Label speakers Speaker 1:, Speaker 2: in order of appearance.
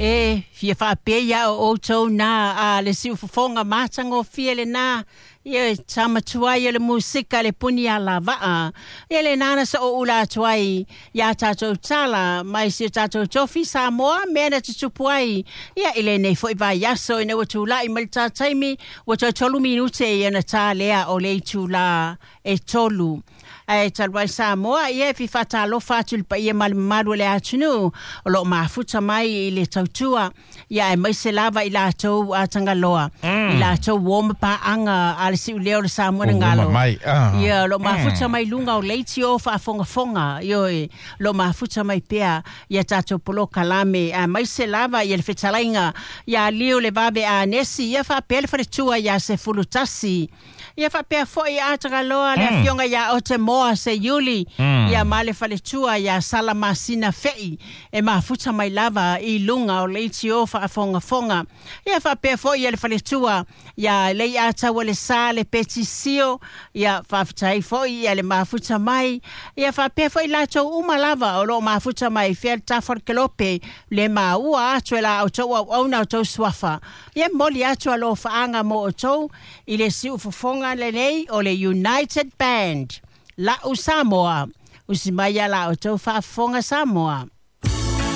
Speaker 1: E fia faapea o outou na a le siufofoga matagofie lena. Ia tama tuai o le musika le puni a lavaa. Ia lena na so'oula atu ai iā tatou tala mai si o tatou tofi Samoa mea na tutupu ai ia i lenei fo'i vaiaso ina ua tula'i mai le tā taimi ua toe 3 minute ia ona tā lea o le itulā e 3. Ae talu ai Samoa, ia e fia faatalofa atu i le paia ma le mamalu o le atunuu o lo o mafuta mai i le tautua, ia aemaise lava i latou a Tagaloa, i latou uo ma paaga a le siuleo o le Samoa na galo.
Speaker 2: Mai, ah.
Speaker 1: Ia, o lo o mafuta mai luga o leitio faafogafoga, ioe, o lo o mafuta mai pea ia tatou polokalame, aemaise lava ia le fetalaiga ia Liu le Vave Anesi, ia faapea le faletua ia 11. Ia faapea foi a Tagaloa le afioga ia Otemoa Seiuli, ia ma le faletua ia Sala Masina Fei e mafuta mai lava i luga o leitio faafogafoga. Ia faapea foi ia le faletua ia Leiataua le Sa le Petisio, ia faafetai foi ia le mafuta mai. Ia faapea foi latou uma lava o lo o mafuta mai fea le tafa o le kelope le maua atu e la outou auauna outou suafa. Ia momoli atu alofaaga mo outou i le siufofoga lenei o le United Band. La'u Samoa. Usi mai ia la outou faafofoga Samoa.